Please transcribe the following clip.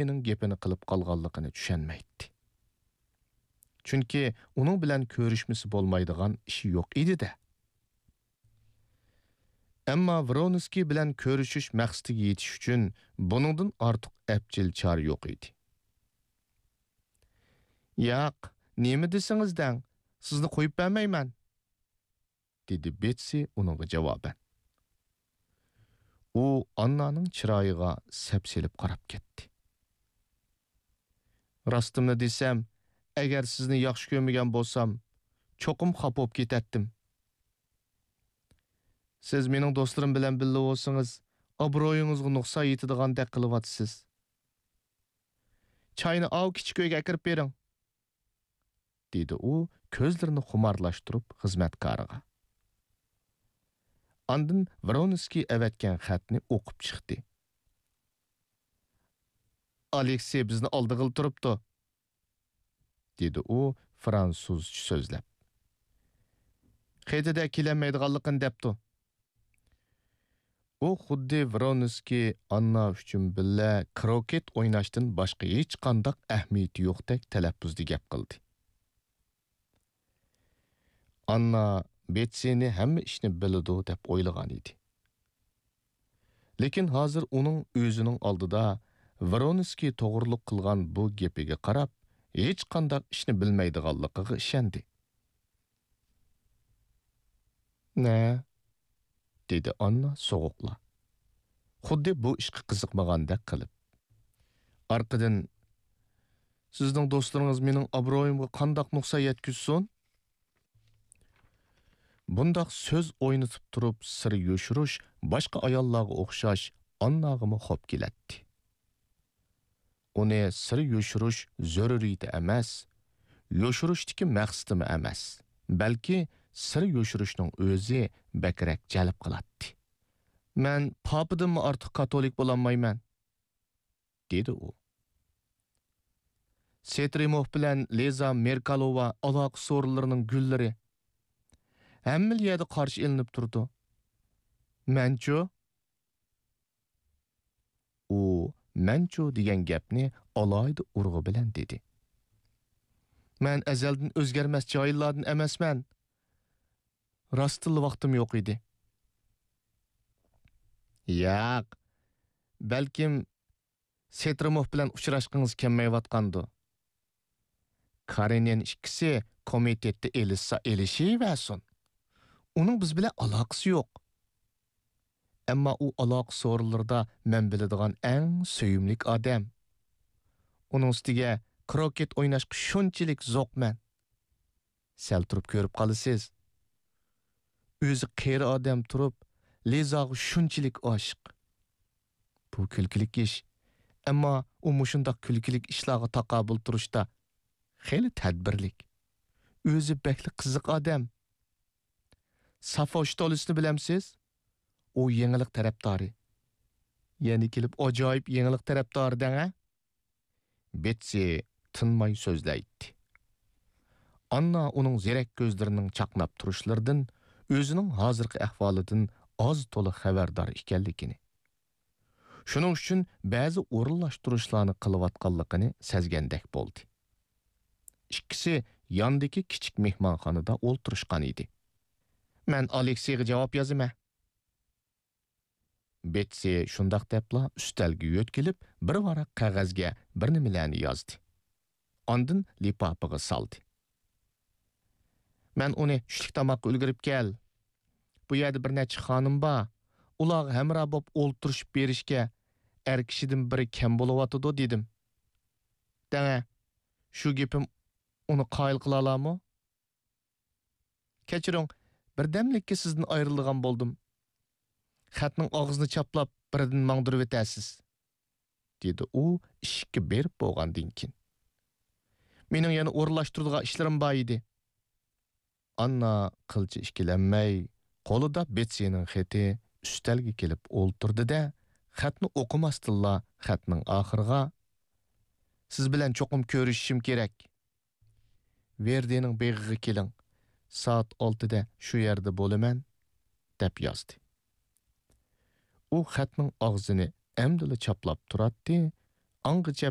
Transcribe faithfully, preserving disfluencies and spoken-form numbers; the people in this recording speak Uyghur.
ئابرويىنىڭ گېپىنى قىلىپ قالغانلىقىنى چۈشەنمەيتتى. چۈنكى ئۇنىڭ بىلەن كۆرۈشمىسە بولمايدىغان ئىشى يوق ئىدى-دە. ئەمما ۋرونسكىي بىلەن كۆرۈشۈش مەقسىتىگە يېتىش ئۈچۈن بۇنىڭدىن ئارتۇق ئەپچىل چارە يوق ئىدى. «ياق، نېمە دېسىڭىز دەڭ، سىزنى قويۇپ بەرمەيمەن» دېدى بېتسى ئۇنىڭغا جاۋابەن. ئۇ ئاننانىڭ چىرايىغا سەپسېلىپ قاراپ كەتتى. «راستىمنى دېسەم، ئەگەر سىزنى ياخشى كۆرمىگەن بولسام، چوقۇم خاپا بولۇپ كېتەتتىم. سىز مېنىڭ دوستلىرىم بىلەن بىللە بولسىڭىز، ئابرويىڭىزغا نۇقسان يېتىدىغاندەك قىلىۋاتىسىز. چاينى ئاۋۇ كىچىك ئۆيگە ئەكىرىپ بېرىڭ» دېدى ئۇ كۆزلىرىنى خۇمارلاشتۇرۇپ خىزمەتكارىغا. ئاندىن ۋرونسكىي ئەۋەتكەن خەتنى ئوقۇپ چىقتى. «ئالېكسېي بىزنى ئالدىغىلى تۇرۇپتۇ» دېدى ئۇ فرانسۇزچە سۆزلەپ. «خېتىدە كېلەلمەيدىغانلىقىنى دەپتۇ.» ئۇ خۇددى ۋرونسكىي ئاننا ئۈچۈن بىللە كروكېت ئويناشتىن باشقا ھېچقانداق ئەھمىيىتى يوقتەك تەلەپپۇزدا گەپ قىلدى. ئاننا بېتسىنى ھەممە ئىشنى بىلىدۇ دەپ ئويلىغان ئىدى. لېكىن ھازىر ئۇنىڭ ئۆزىنىڭ ئالدىدا ۋرونسكىي توغرۇلۇق قىلغان بۇ گېپىگە قاراپ، ھېچقانداق ئىشنى بىلمەيدىغانلىقىغا ئىشەندى. «نە؟» دېدى ئاننا سوغۇقلا، خۇددى بۇ ئىشقا قىزىقمىغاندەك قىلىپ. ئارقىدىن، «سىزنىڭ دوستلىرىڭىز مېنىڭ ئابرويۇمغا قانداق نۇقسان يەتكۈزسۇن؟» بۇنداق سۆز ئوينىتىپ تۇرۇپ سىر يوشۇرۇش باشقا ئاياللارغا ئوخشاش ئانناغىمۇ خوپ كېلەتتى. ئۇنى سىر يوشۇرۇش زۆرۈرىيىتى ئەمەس، يوشۇرۇشتىكى مەقسىتىمۇ ئەمەس، بەلكى سىر يوشۇرۇشنىڭ ئۆزى بەكرەك جەلپ قىلاتتى. «مەن پاپىدىنمۇ ئارتۇق كاتولىك بولالمايمەن» دېدى ئۇ. «سېترىموف بىلەن لىزا مېركالوۋا ئالاقە سورۇنلىرىنىڭ گۈللىرى. ھەممىلا يەردە قارشى ئېلىنىپ تۇرىدۇ. مەنچۇ؟» ئۇ «مەنچۇ» دېگەن گەپنى ئالاھىدە ئۇرغۇ بىلەن دېدى. «مەن ئەزەلدىن ئۆزگەرمەس جاھىللاردىن ئەمەسمەن. راستتىنلا ۋاقتىم يوق ئىدى.» «ياق، بەلكىم سېترىموف بىلەن ئۇچراشقىڭىز كەلمەيۋاتقاندۇ؟ كارېنىن ئىككىسى كومىتېتتا ئېلىشسا ئېلىشىۋەرسۇن. ئۇنىڭ بىز بىلەن ئالاقىسى يوق. ئەمما ئۇ ئالاقە سورۇنلىرىدا مەن بىلىدىغان ئەڭ سۆيۈملۈك ئادەم. ئۇنىڭ ئۈستىگە كروكېت ئويناشقا شۇنچىلىك زوقمەن. سەل تۇرۇپ كۆرۈپ قالىسىز. ئۆزى قېرى ئادەم تۇرۇپ، لىزاغا شۇنچىلىك ئاشىق. بۇ كۈلكىلىك ئىش. ئەمما ئۇ مۇشۇنداق كۈلكىلىك ئىشلارغا تاقابىل تۇرۇشتا خېلى تەدبىرلىك. ئۆزى بەكلا قىزىق ئادەم. سافوشتولىسنى بىلەمسىز؟ ئۇ يېڭىلىق تەرەپدارى. يەنە كېلىپ ئاجايىپ يېڭىلىق تەرەپدارى دەڭە.» بېتسى تىنماي سۆزلەيتتى. ئاننا ئۇنىڭ زېرەك كۆزلىرىنىڭ چاقناپ تۇرۇشلىرىدىن، ئۆزىنىڭ ھازىرقى ئەھۋالىدىن ئاز-تولا خەۋەردار ئىكەنلىكىنى، شۇنىڭ ئۈچۈن بەزى ئورۇنلاشتۇرۇشلارنى قىلىۋاتقانلىقىنى سەزگەندەك بولدى. ئىككىسى ياندىكى كىچىك مېھمانخانىدا ئولتۇرۇشقان ئىدى. «مەن ئالېكسېيغا جاۋاب يازىمەن.» بېتسى شۇنداق دەپلا ئۈستەلگە يۆتكىلىپ، بىر ۋاراق قەغەزگە بىر نېمىلەرنى يازدى. ئاندىن لىپاپىغا سالدى. «مەن ئۇنى چۈشلۈك تاماققا ئۈلگۈرۈپ كەل. بۇ يەردە بىر نەچچە خانىم بار. ئۇلارغا ھەمراھ بولۇپ ئولتۇرۇشۇپ بېرىشكە ئەر كىشىدىن بىرى كەم بولۇۋاتىدۇ» دېدىم. دەڭە، شۇ گېپىم ئۇنى قايىل قىلالارمۇ؟ «كەچۈرۈڭ، بىردەملىككە سىزدىن ئايرىلىدىغان بولدۇم. خەتنىڭ ئاغزىنى چاپلاپ، بىردىن ماڭدۇرۇۋېتەرسىز» دېدى ئۇ ئىشىككە بېرىپ بولغاندىن كېيىن. «مېنىڭ يەنە ئورۇنلاشتۇرىدىغان ئىشلىرىم بار ئىدى.» ئاننا قىلچە ئىككىلەنمەي، قولىدا بېتسىنىڭ خېتى ئۈستەلگە كېلىپ ئولتۇردى-دە، خەتنى ئوقۇماستىنلا خەتنىڭ ئاخىرىغا، «سىز بىلەن چوقۇم كۆرۈشۈشۈم كېرەك. ۋېردىنىڭ بېغىغا كېلىڭ، سائەت ئالتىدە شۇ يەردە بولىمەن» دەپ يازدى. ئۇ خەتنىڭ ئاغزىنى ئەمدىلا چاپلاپ تۇراتتى، ئاڭغىچە